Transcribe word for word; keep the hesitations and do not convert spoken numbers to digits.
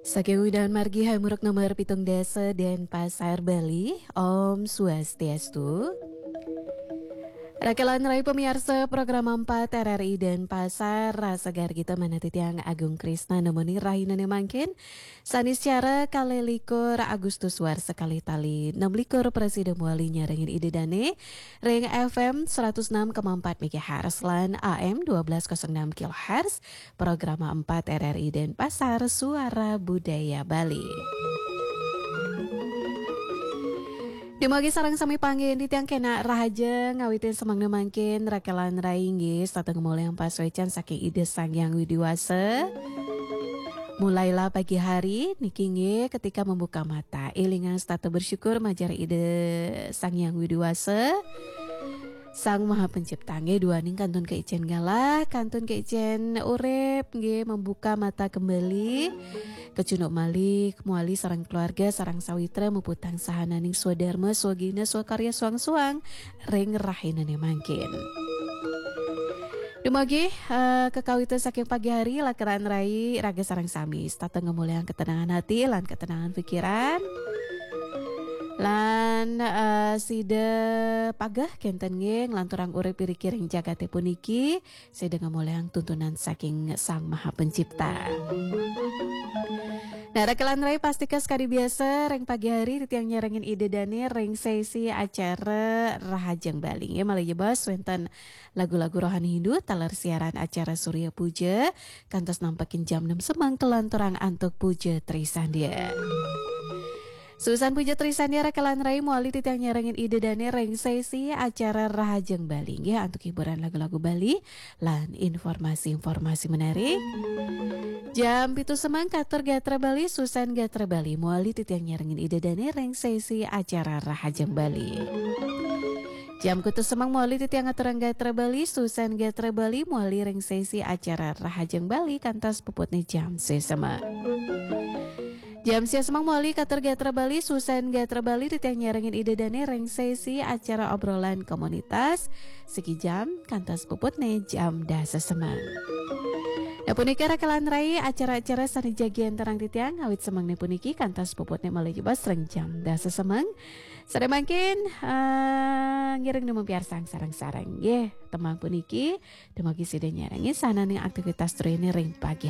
Saking Udan Margi Hamuruk nomor pitung dasa Denpasar Bali, Om Swastiastu. Rakelan rai pamiarsa program empat R R I Denpasar, rasa gargita manah titiang Agung Krisna nemoni rahinane mangkin, Saniscara kalih likur Agustus warsa kalih tali enam likur prasida muali nyarengin Ida Dane ring F M seratus enam koma empat megahertz lan A M dua belas kosong enam kilohertz, program empat R R I Denpasar, Suara Budaya Bali. Dumugi sareng sami panggihin titiang kenak rahaja ngawitin semengna mangkin rakelan rai inggih setata ngemolihang pasuecan saking Ida Sang Hyang Widi Wasa. Mulailah pagi hari niki inggih ketika membuka mata. Elingang setata bersyukur majeng Ida Sang Hyang Widi Wasa. Sang Maha Pencipta nggih duaning kantun kaicen galah, kantun kaicen urip nggih membuka mata kembali. Kecunduk malih muali sareng keluarga, sareng sawitra muputang sahananing swadarma, swagina, swakarya, suang-suang ring rahinane mangkin. Dumugi eh, kekawitan saking pagi hari, rakelan rai raga sareng sami setata ngemolihang ketenangan hati lan ketenangan pikiran. Lan eh, sida pageh kenten nggih nglanturang urip iriki ring jagate puniki, sida ngemolihang tuntunan saking Sang Maha Pencipta. Nah, rakelan rai pastika sekadi biasa ring pagi hari titiang nyarengin Ida Dane ring sesi acara Rahajeng Bali. Nggih, malih jebos wenten lagu-lagu rohani Hindu taler siaran acara Surya Puja kantos nampekin jam enam semeng kalanturang antuk Puja Trisandya. Susan Puja Trisandya rakelan rai muali titiang nyarengin Ida Dane ring sesi acara Rahajeng Bali nggih antuk hiburan lagu-lagu Bali lan informasi-informasi menarik. Jam pitu semeng katur gatra Bali, Susan Gatra Bali muali titiang nyarengin Ida Dane ring sesi acara Rahajeng Bali. Jam kutus semeng muali titiang aturang gatra Bali, Susan Gatra Bali muali ring sesi acara Rahajeng Bali kantos puputne jam sesema. Jam sia semeng muali katur gatra Bali, Susan Gatra Bali titiang nyarengin Ida Dane ring sesi acara obrolan komunitas siki jam kantos puputne jam dasa semeng. Nah, punika rakelan rai acara-acara sane jagi antarang titiang awit semengne puniki kantos puputne malih jebos ring jam dasa semeng. Sare mangkin eh, ngiring nemu piarsang sareng-sareng nggih. Temang puniki dumugi sida nyarengin sahananing aktivitas trine ring pagi